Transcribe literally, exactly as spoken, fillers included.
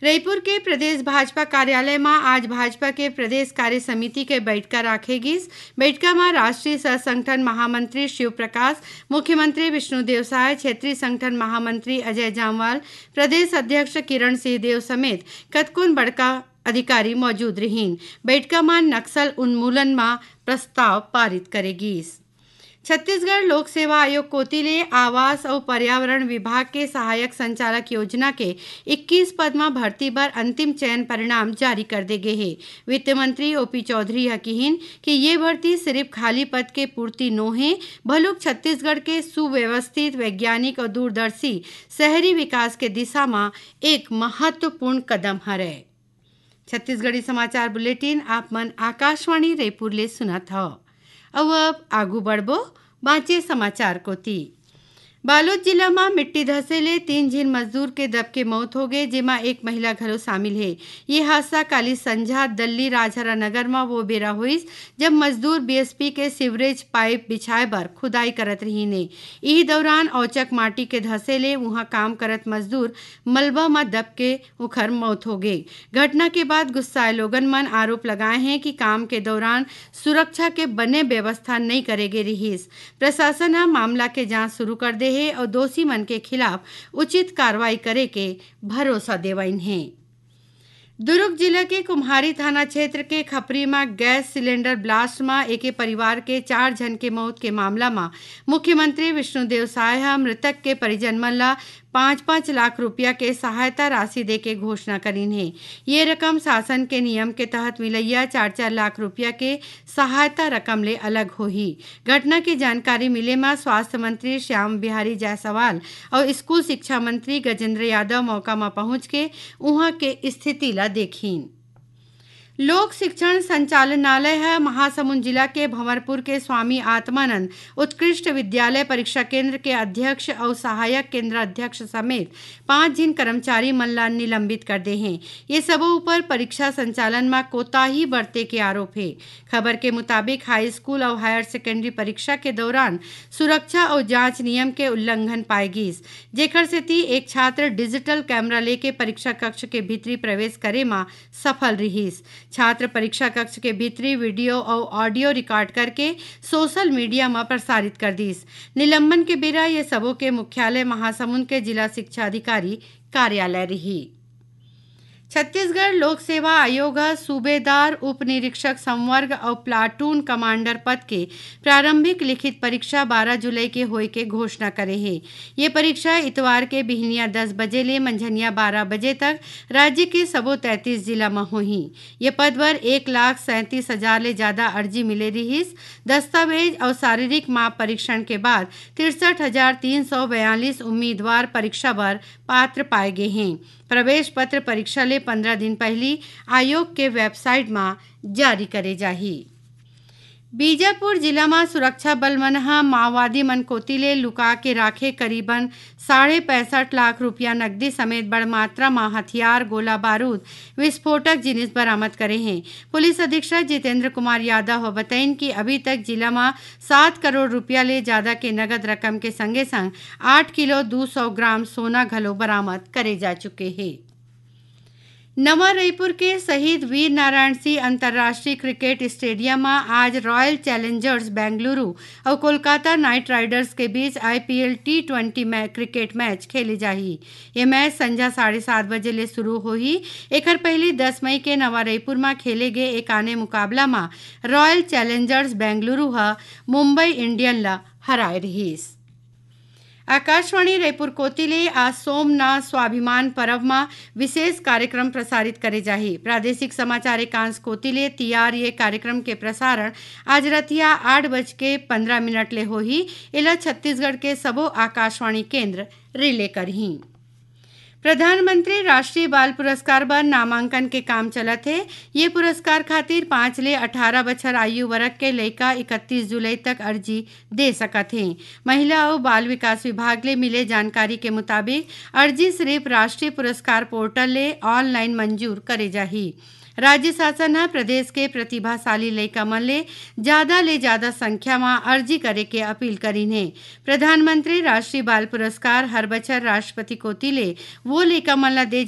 रईपुर के प्रदेश भाजपा कार्यालय म आज भाजपा के प्रदेश कार्य समिति के बइठका राखे गिस। बइठका म राष्ट्रीय सह संगठन महामंत्री शिव प्रकाश, मुख्यमंत्री विष्णुदेव साय, क्षेत्रीय संगठन महामंत्री अजय जामवाल, प्रदेश अध्यक्ष किरण सिंहदेव समेत कतकोन बड़का अधिकारी मौजूद रिहीन। बइठका म नक्सल उन्मूलन म प्रस्ताव पारित करे गिस। छत्तीसगढ़ लोक सेवा आयोग कोति ले आवास अउ पर्यावरण विभाग के सहायक संचालक योजना के इक्कीस पद म भर्ती बर अंतिम चयन परिणाम जारी कर दे गे हे। वित्त मंत्री ओपी चौधरी ह किहीन कि ये भर्ती सिरिफ खाली पद के पूर्ति नो हे, भलुक छत्तीसगढ़ के सुव्यवस्थित, वैज्ञानिक अउ दूरदर्शी शहरी विकास के दिशा म एक महत्वपूर्ण कदम हरय। छत्तीसगढ़ी समाचार बुलेटिन आप मन आकाशवाणी रईपुर ले सुनत हव। अउ अब आगू बढ़बो बांचे समाचार कोति। बालोद जिला म मिट्टी धसे ले तीन झिन मजदूर के दब के मौत होगे, जेमा एक महिला घलो शामिल हे। ये हादसा काली संझा दल्ली राजहरा नगर म वो बेरा होइस, जब मजदूर बीएसपी के सीवरेज पाइप बिछाए बर खुदाई करत रहिन हे। इही दौरान औचक माटी के धसे ले उहां काम करत मजदूर मलबा म दब के उखर मौत होगे। घटना के बाद गुस्साए लोगन मन आरोप लगाए हें कि काम के दौरान सुरक्षा के बने व्यवस्था नइ करे गे रिहिस। प्रशासन ह मामला के जांच शुरू कर दे हे अउ दोषी मन के खिलाफ उचित कार्रवाई करे के भरोसा देवाइन हे। दुर्ग जिला के कुम्हारी थाना क्षेत्र के खपरी म गैस सिलेंडर ब्लास्ट म एके परिवार के चार झन के मौत के मामला म मुख्यमंत्री विष्णुदेव साय ह मृतक के परिजन मन ल पाँच पाँच लाख रुपया के सहायता राशि देके घोषणा करिन हे। ये रकम शासन के नियम के तहत मिलइया चार चार लाख रुपया के सहायता रकम ले अलग होही। घटना के जानकारी मिले म स्वास्थ्य मंत्री श्याम बिहारी जायसवाल अउ स्कूल शिक्षा मंत्री गजेंद्र यादव मौका म पहुंच के उहां के स्थिति ल देखिन। लोक शिक्षण संचालनालय ह महासमुंद जिला के भंवरपुर के स्वामी आत्मानंद उत्कृष्ट विद्यालय परीक्षा केंद्र के अध्यक्ष अउ सहायक केंद्र अध्यक्ष समेत पांच झिन कर्मचारी मन ल निलंबित कर दे हे। ये सबो ऊपर परीक्षा संचालन म कोताही बरते के आरोप हे। खबर के मुताबिक, हाई स्कूल अउ हायर सेकेंडरी परीक्षा के दौरान सुरक्षा अउ जांच नियम के उल्लंघन पाए गिस, जेकर सेती एक छात्र डिजिटल कैमरा लेके परीक्षा कक्ष के भीतरी प्रवेश करे म सफल रिहिस। छात्र परीक्षा कक्ष के भीतरी वीडियो अउ ऑडियो रिकॉर्ड करके सोशल मीडिया म प्रसारित कर दिस। निलंबन के बेरा ये सबो के मुख्यालय महासमुंद के जिला शिक्षा अधिकारी कार्यालय रिही। छत्तीसगढ़ लोक सेवा आयोग ह सूबेदार, उप निरीक्षक संवर्ग अउ प्लाटून कमांडर पद के प्रारंभिक लिखित परीक्षा बारह जुलाई के होए के घोषणा करे हे। ये परीक्षा इतवार के बिहनिया दस बजे ले मंझनिया बारह बजे तक राज्य के सबो तैंतीस जिला म होही। ये पद बर एक लाख सैंतीस हजार ले जादा अर्जी मिले रिहिस। दस्तावेज अउ शारीरिक माप परीक्षण के बाद तिरसठ हजार तीन सौ बयालीस उम्मीदवार परीक्षा बर पात्र पाए गे हें। प्रवेश पत्र परीक्षा ले पंद्रह दिन पहिली आयोग के वेबसाइट म जारी करे जाही। बीजापुर जिला म सुरक्षा बल मन ह माओवादी मन कोति ले लुका के राखे करीबन साढ़े पैंसठ लाख रुपया नकदी समेत बड़ मात्रा म हथियार, गोला बारूद, विस्फोटक जिनिस बरामद करे हें। पुलिस अधीक्षक जितेंद्र कुमार यादव ह बतइन कि अभी तक जिला म सात करोड़ रुपया ले जादा के नगद रकम के संगे संग आठ किलो दू सौ ग्राम सोना घलो बरामद करे जा चुके हे। नवा रईपुर के शहीद वीर नारायण सिंह अंतर्राष्ट्रीय क्रिकेट स्टेडियम म आज रॉयल चैलेंजर्स बेंगलुरु अउ कोलकाता नाइट राइडर्स के बीच आईपीएल टी ट्वेंटी मै-, क्रिकेट मैच खेले जाही। ये मैच संझा साढ़े सात बजे ले शुरू होही। एखर पहिली दस मई के नवा रईपुर म खेले गे एक आने मुकाबला म रॉयल चैलेंजर्स बेंगलुरु ह मुंबई इंडियन ल हराए रिहिस। आकाशवाणी रईपुर कोति ले आज सोमनाथ स्वाभिमान परब म विशेष कार्यक्रम प्रसारित करे जाही। प्रादेशिक समाचार एकांश कोति ले तियार ये कार्यक्रम के प्रसारण आज रतिया आठ बज के पंद्रह मिनट ले होही। एला छत्तीसगढ़ के सबो आकाशवाणी केंद्र रिले करही। प्रधानमंत्री राष्ट्रीय बाल पुरस्कार बर नामांकन के काम चलत हे। ये पुरस्कार खातिर पाँच ले अठारह बछर आयु वर्ग के लइका इकतीस जुलाई तक अर्जी दे सकत हें। महिला अउ बाल विकास विभाग ले मिले जानकारी के मुताबिक, अर्जी सिरिफ राष्ट्रीय पुरस्कार पोर्टल ले ऑनलाइन मंजूर करे जाही। राज्य शासन ह प्रदेश के प्रतिभाशाली लइका मन ले जादा ले जादा संख्या म अर्जी करे के अपील करिन हे। प्रधानमंत्री राष्ट्रीय बाल पुरस्कार हर बछर राष्ट्रपति कोति ले वो लइका मन ल दे